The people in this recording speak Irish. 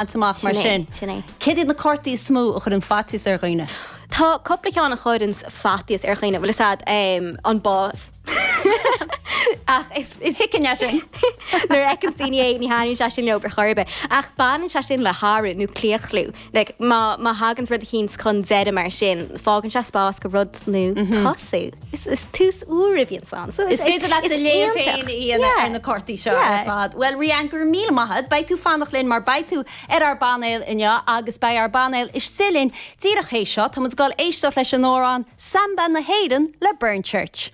Amach mar sin. Sin é. Céard iad na cártaí is mó a chuireann faitíos ar dhaoine? Tá cúpla ceann a chuireanns faitíos ar dhaoine, bhfuil fhios a'd, an bás. Ach is, is. Thuigfinn é sin. Nuair a fheiceanns daoine é, ní thaitníonn sé sin leo ar chor ar bith. Ach baineann sé sin le hathrú nó claochlú. Like, má, má thaganns rud eicínt chun deireadh mar sin, fágann sé spás go rud nua tosú. Is, is tús úr a bhíonns ann. So is, is féidir leat do léamh iontach. féin a dhéanamh Yeah. ar na cártaí seo Yeah. ar fad. Bhuel, Rían, go raibh míle maith agat. Beidh tú fanacht linn mar beidh tú ar ár bpainéal inniu agus beidh ár bpainéal istigh linn díreach théis seo. Tá muid ag dul éisteacht leis an amhrán 'Samba na hÉireann' le Burnchurch.